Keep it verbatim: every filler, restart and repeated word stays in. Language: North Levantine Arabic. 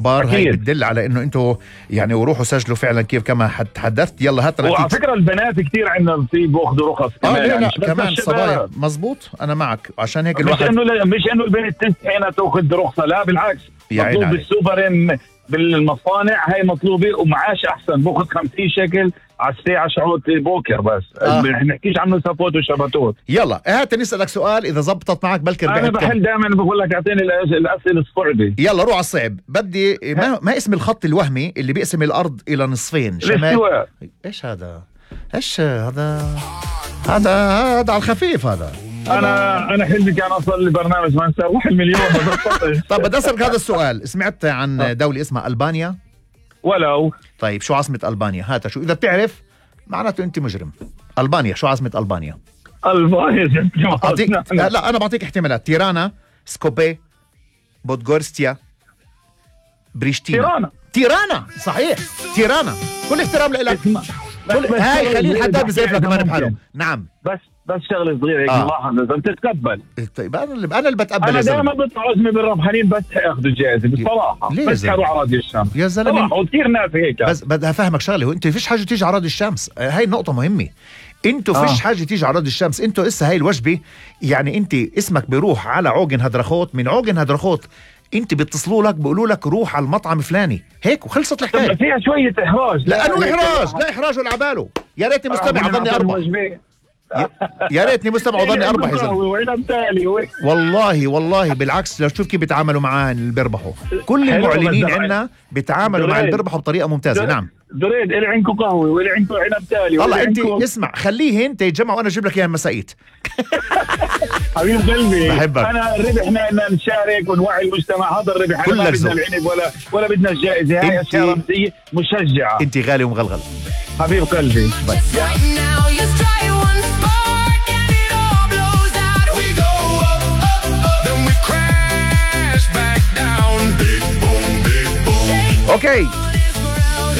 اخبار هاي بتدل على انه انتوا يعني وروحوا سجلوا فعلا كيف كما تحدثت. يلا هات وعلى فكره البنات كتير عندنا نصيب واخذوا رخص كمان. اه لا لا كمان صبايا مزبوط. انا معك عشان هيك الواحد مش انه مش انه البنت تستحي تاخذ رخصه، لا بالعكس مطلوب بالسوبرين بالمصانع هاي مطلوبه ومعاش احسن، باخذ خمسين شكل على الساعه شعوط بوكر بس. آه. ما نحكيش عنه سبوت وشباتوت. يلا هات نسالك سؤال اذا زبطت معك بلكي انا بحل دائما بقول لك اعطيني الاسئله الصعبه. يلا روح على الصعب. بدي ما, ما اسم الخط الوهمي اللي بيقسم الارض الى نصفين؟ شمال. ايش هذا؟ ايش هذا؟ هذا هذا على الخفيف. هذا انا انا حلمي كان اصل لبرنامج ما نسوي حلم اليوم. طب بدي اسالك هذا السؤال. سمعت عن دوله اسمها البانيا؟ ولو. طيب شو عاصمه البانيا؟ هاتها شو اذا بتعرف معناته انت مجرم. البانيا شو عاصمه البانيا؟ البانيا أعطيك... لا, لا انا بعطيك احتمالات. تيرانا، سكوبي، بودغورستيا، بريشتينا. تيرانا. تيرانا صحيح. تيرانا. كل احترام لك. كل... هاي خليل حدا بزيف لك كمان بحاله. نعم بس بس شغله صغيره هيك ملاحظه لازم تتقبل. طيب انا اللي انا اللي بتقبل. انا دائما بطلع عزمي بالربحانين بس ياخذوا الجائزه بصراحه. بس حروا على راديو الشمس يا زلمه وكثير ناس هيك. بس بدي افهمك شغله. انت فيش حاجه تيجي على راديو الشمس. هاي النقطه مهمه. انتوا فيش آه. حاجه تيجي على راديو الشمس. انتوا اسا هاي الوجبه يعني انت اسمك بيروح على عوجن هدرخوت، من عوجن هدرخوت انت بيتصلوا لك بيقولوا لك روح على المطعم فلاني هيك وخلصت الحكايه. فيها شويه احراج. لا انه احراج لا احراج ولا عباله. يا ريتني مستمع ظني اربع. يا ريتني مستمع ظني اربح يا زلمه. والله والله بالعكس. لو شوف كيف بيتعاملوا معاه اللي بيربحوا. كل المعلنين عندنا بيتعاملوا مع اللي بيربحوا بطريقه ممتازه. نعم دريد اللي عندكم قهوه واللي عندكم عنب تالي. والله انت اسمع خليه انت يتجمع وانا اجيب لك اياها مسائيت. حبيب قلبي بحبك. انا الربح ان نشارك ونوعي المجتمع. هذا الربح. ما بدنا العنب ولا ولا بدنا الجائزه. هاي اشياء رمزيه مشجعه. انت غالي ومغلغل حبيب قلبي. اوكي